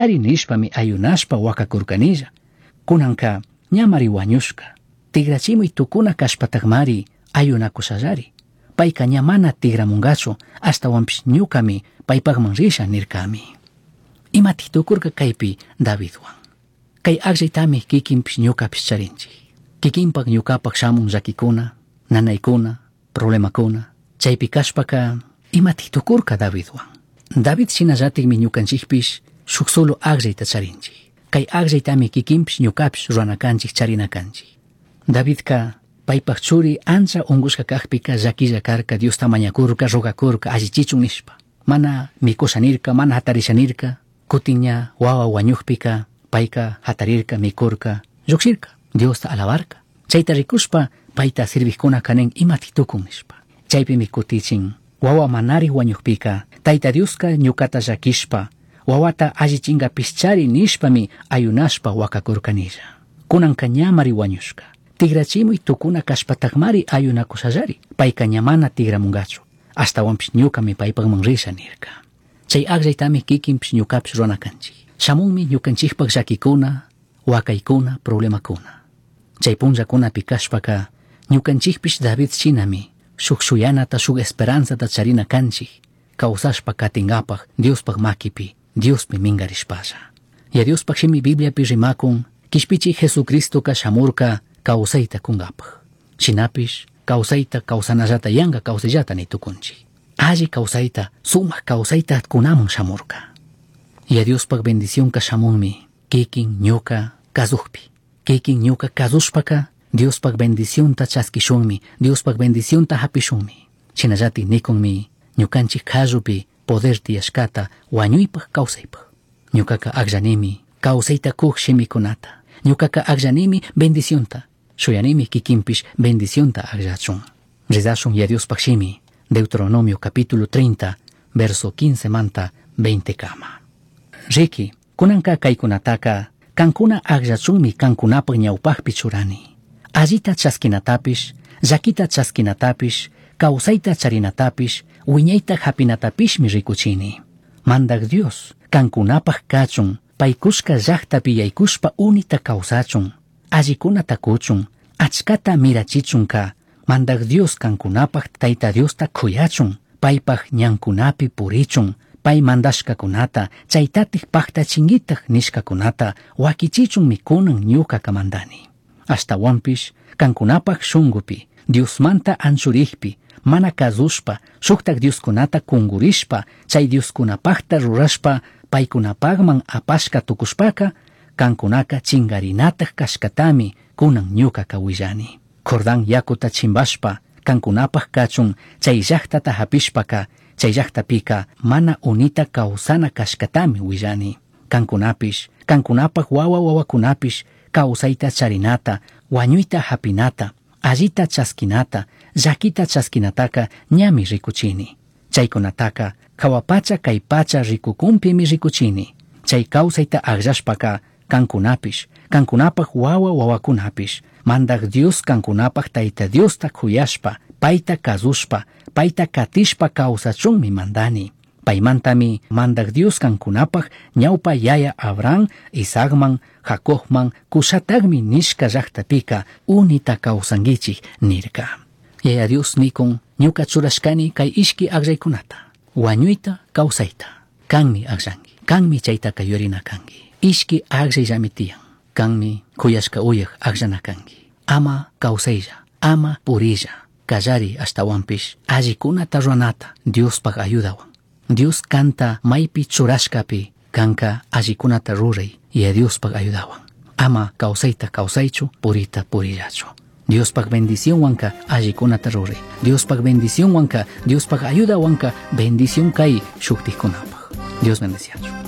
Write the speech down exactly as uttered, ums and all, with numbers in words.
Nishpami ayunashpa huacakurkanilla. Kunanka ñamari wañushka. Tigrachimuy tukuna kashpatakmari ayunakushallari. Payka ña mana tigramungachu ashtawanpish ñukami paypakman risha nirkami. Imatik tukurka kaypi Davidwan. Kay akllaytami kikinpish ñukapish charinchik. Kikinpak ñukapak shamun llakikuna, nanaykuna, problemakuna. Chaypi kashpaka imatik tukurka Davidwan. David shinallatikmi ñukanchikpish shuk solo akllayta charinchik. Kay akllaytami kikinpish ñukapish ruranakanchik charinakanchik. Davidka paypak churi ancha unkushka kakpika llakilla karka Diosta mañakurka rogakurka allichichun nishpa. Mana mikusha nirka, mana hatarisha nirka, kutin ña wawa wañukpika payka hatarirka, mikurka, llukshirka, Diosta alabarka. Chayta rikushpa payta sirvijkuna kanin imatik tukun nishpa. Chaypimi kutichin wawa manari wañukpika Tayta Dioska ñukata llakishpa wawata allichinkapishchari nishpami ayunashpa wakakurkanilla. Kunanka ñamari wañushka. Tigrachimuy tukuna kashpatakmari ayunakushallari. Payka ña mana tigramungachu. Ashtawanpish ñukami paypakman risha nirka. Chay akllaytami kikinpish ñukapish ruranakanchik. Shamunmi ñukanchikpak llakikuna, wakaykuna, problemakuna. Chay punllakunapi kashpaka ñukanchikpish David shinami shuk shuyanata shuk esperanzata charina kanchik. Kawsashpa katinkapak Diospak makipi, Diospi minkarishpalla. Ya Diospak shimi Bibliapi rimakun kishpichik Jesucristoka shamurka kawsayta kunkapak. Shinapish kawsayta kawsanallata yanka kawsayllata ni tukunchik. Alli kawsayta, sumak kawsayta kunamun shamurka. Ya Diospak bendicionka shamunmi kikin ñuka kazukpi. Kikin ñuka kazushpaka Diospak bendicionta chaskishunmi, Diospak bendicionta hapishunmi. Shinallatik nikunmi ñukanchik kallupi poder tiyashkata wañuypak kawsaypak. Ñukaka akllanimi kawsayta kuk shimikunata. Ñukaka akllanimi bendicionta. Shuyanimi kikinpish bendicionta akllachun. Rezashun ya Diospak shimi. Deuteronomio capítulo treinta, verso quince manta veinte kama. Riki, kunanka kaykunataka kankuna akllachunmi kankunapak ñawpakpi churani. Allita chaskinatapish, llakita chaskinatapish, kawsayta charinatapish, wiñayta hapinatapishmi rikuchini. Mandak Dios, kankunapak kachun, paykushka llaktapi yaykushpa unita kawsachun, allikunata kuchun, achkata mirachichunka, Mandak Dios kankunapak Tayta Diosta kuyachun, paypak ñankunapi purichun, pay mandashkakunata, chaytatik paktachinkitak nishkakunata, wakichichunmi kunan ñukaka mandani. Ashtawanpish, kankunapak shunkupi, Diosmanta anchurikpi, mana kazushpa, shuktak Dioskunata kungurishpa, chay Dioskunapakta rurashpa, paykunapakman apashka tukushpaka, kankunaka chingarinatak kashkatami kunan ñukaka willani. Jordán yakuta chimbashpa, kankunapak kachun, chay llaktata hapishpaka, chay llaktapika mana unita kawsana kashkatami willani. Kankunapish, kankunapak wawa wawakunapish, kawsayta charinata, wañuyta hapinata, allita chaskinata, llakita chaskinataka ñami rikuchini. Chaykunataka hawa pacha kay pacha rikukunpimi rikuchini. Chay kawsayta akllashpaka kankunapish, kankunapak wawa wawakunapish, Mandak Dios kankunapak Tayta Diosta kuyashpa, payta kazushpa, payta katishpa kawsachunmi mandani. Paymantami Mandak Dios kankunapak ñawpa yaya Abraham, Isaacman, Jacobman, kushatagmi nishka llaktapika unita kawsankichik nirka. Yaya Dios nikun ñuka churashkani kay ishki akllaykunata, wañuyta kawsayta. Kanmi akllanki, kanmi chaytaka yurina kanki. Ishki akllayllami tiyan, kanmi kuyashka uyak akllana kanki. Ama kawsaylla, ama purilla, kallari ashtawanpish allikunata ruranata Diospak ayudawan. Dios kanta maypi churashkapi kanka allikunata ruray y Diospak ayudawan. Ama kawsayta kawsaychu, purita purillachu. Diospak bendicionwanka allikunata ruray. Diospak bendicionwanka, Diospak ayudawanka bendición kay shuktikkunapak. Dios bendeciachu.